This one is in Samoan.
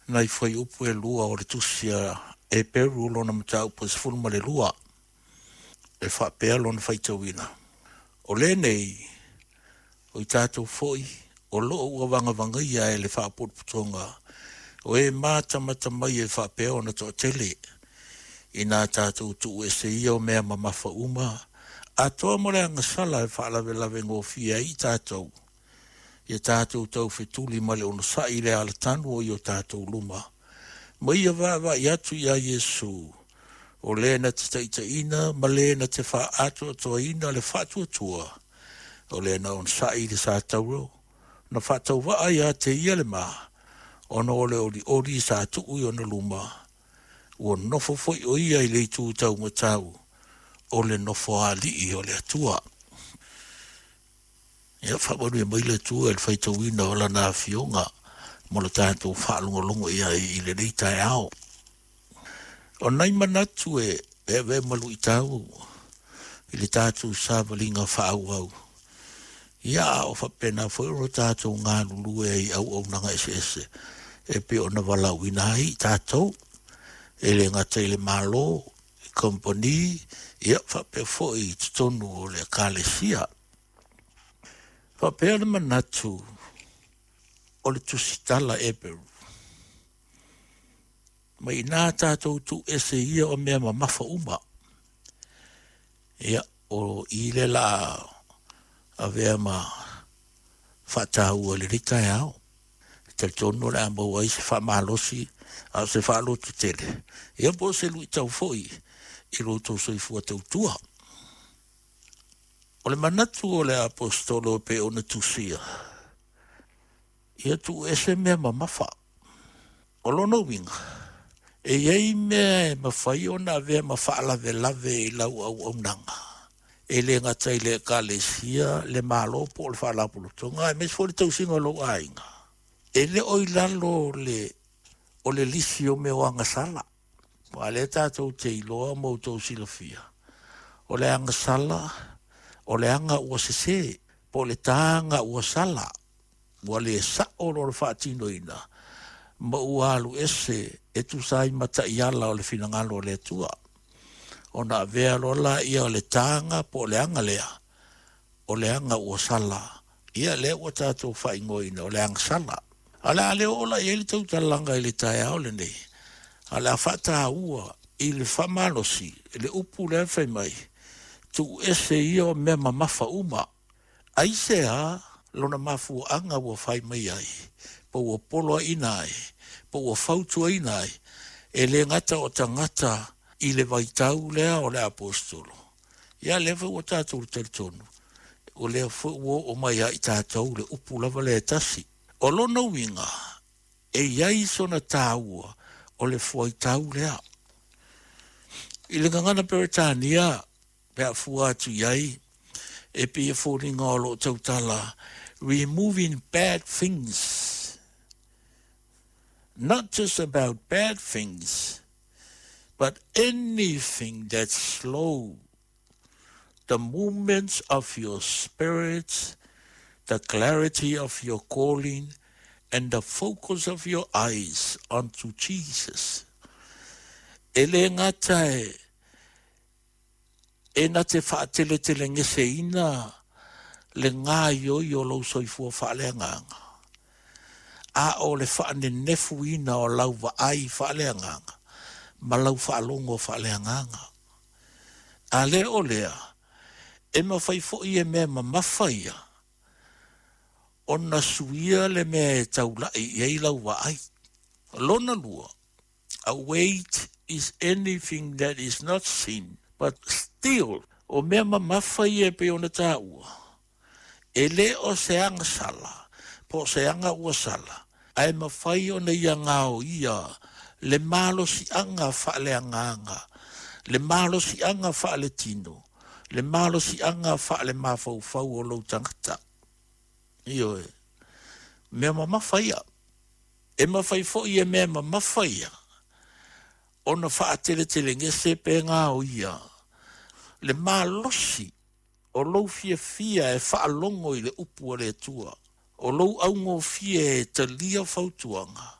nai fuaiupu e lua o le Tusi a Eperu lona mataupu e 12, e faapea lona faitauina, O lenei, o i tatou foi o loo ua vagavagaia e le faapotopotoga o e matamata mai e faapea ona toatele, ina tatou tuuese ia o mea mamafa uma, atoa ma le agasala e faalavelave gofie ai i tatou, ia tatou taufetuli ma le onosai i le alatanu o i o tatou luma, ma ia vaavaai atu iā Iesu, o le na te taitaiina ma le na te faaatoatoaina le faatuatua, o le na onosai i le satauro, na faatauvaa ia te ia le ma, ona o le olioli sa tuu i ona luma, ua nofo foi o ia i le itu taumatau o le nofoalii o le Atua. Ia faamanuia mai le Atua i le faitauina o Lana Afioga mo le tatou faalogologo i ai i lenei taeao. O nai manatu e avea ma luitau i le tatou savaliga faaauau, ia a o faapena foi ona tatou galulue ai i auaunaga eseese e pei ona valaauina ai i tatou, e le gata i le Malo, i kamupani, ia faapea foi i totonu o le Ekalesia. Faapea le manatu o le tusitala Eperu, ma inā tatou tuuese ia o mea mamafa uma. Ia, o i le la avea ma faataua i lenei taeao. E talitonu o le a maua ai se faamalosi a o se faalototele, ia po o se luitau foi i lo outou soifua tautua. O le manatu o le aposetolo e pei ona tusia, ia tuuese mea mamafa. O lona uiga, e i ai mea e mafai ona avea ma faalavelave i lau auaunaga, e le gata i le Ekalesia, le Malo po o le Faalapotopotoga, aemaise foi le tausiga o lou aiga. E le o i lalo o le lisi o mea o agasala. Aua o lea tatou te iloa ma outou silafia, o le agasala, o le aga ua sese, po o le taga ua sala, ua le sao lona faatinoina, ma ua alu ese e tusa ai ma taiala o le finagalo o le Atua. Ona avea loa laia o le taga po o le aga lea, o le aga ua sala, ia lea ua tatou faaigoaina o le agasala. A o le a le oo la i ai le tautalaga i le taeao lenei, a o le a faataua i le faamalosi le upu lea fai mai, tuuese ia o mea mamafa uma. Aisea lona mafuaaga ua fai mai ai, po ua poloaiina ai, po ua fautuaina ai, e le gata o tagata i le vaitau lea o le aposetolo, ia lea foi ua tatou talitonu, o lea foi ua oo mai ia i tatou le upu lava lea e tasi. O lona uiga, e i ai sona taua o le fuaitau lea. I le gagana Peretania, pe a fua atu i ai, e pei e foliga o lo o tautala, removing bad things. Not just about bad things, but anything that slow the movements of your spirit, the clarity of your calling, and the focus of your eyes onto Jesus. E le gata e e na te faateletelegese-ina le gaoioi o lou soifua faaleagaga, a o le faanenefuina o lau vaai faaleagaga ma lau faalogo faaleagaga. A le o lea, e mafai foi e mea mamafa ia ona suia le mea e taulai i ai lau vaai. Lona lua, a weight is anything that is not seen but still, o mea mamafa ia e pei ona taua, e le o se agasala po o se aga ua sala, ae mafai ona ia gaoia le malosiaga faaleagaga, le malosiaga faaletino, le malosiaga faalemafaufau o lou tagata. Ioe, mea mamafa ia. E mafai foi e mea mamafa ia ona faateletelegese pe gaoia le malosi o lou fiafia e faalogo i le upu a le Atua, o lou augofie e talia fautuaga.